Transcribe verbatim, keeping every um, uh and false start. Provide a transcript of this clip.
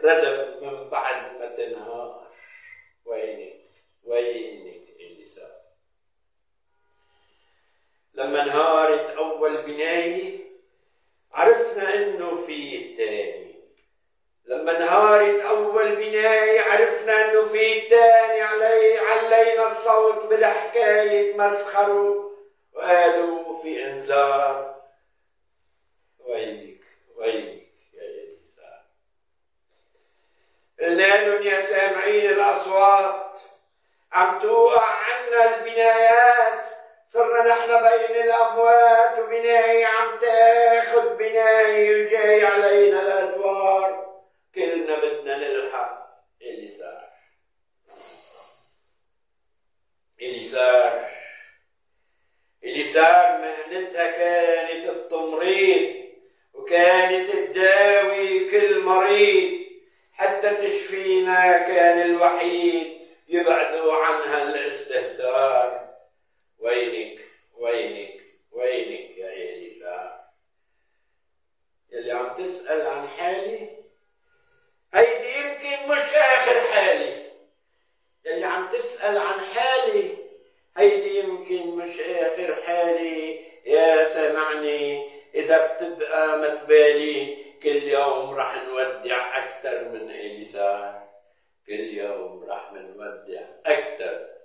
ردم من بعد ما تنهار. وينك وينك إليسا؟ لما انهارت أول بناية عرفنا إنه في التاني. لما انهارت أول بناية عرفنا إنه في التاني. علي علينا الصوت بالحكاية مسخروا وقالوا في إنذار. وينك وينك يا إليسا؟ قلنا لهم يا سامعين الأصوات عم توقع عنا البنايات، صرنا نحن بين الأموات وبناية عم تاخد بناية وجاي علينا الأدوار. كلنا بدنا نلحق إليسار. إليسار إليسار مهنتها كانت التمريض، وكانت تداوي كل مريض حتى تشفينا. كان الوحيد يبعدوا عنها الاستهتار. وينك وينك وينك يا إليسار؟ يلي عم تسأل عن حالي، هيدي يمكن مش آخر حالي. يلي عم تسأل عن حالي، هيدي يمكن مش آخر حالي. يا سامعني، إذا بتبقى متبالي كل يوم رح نودع أكتر من إليسار. كل يوم رح نودع أكتر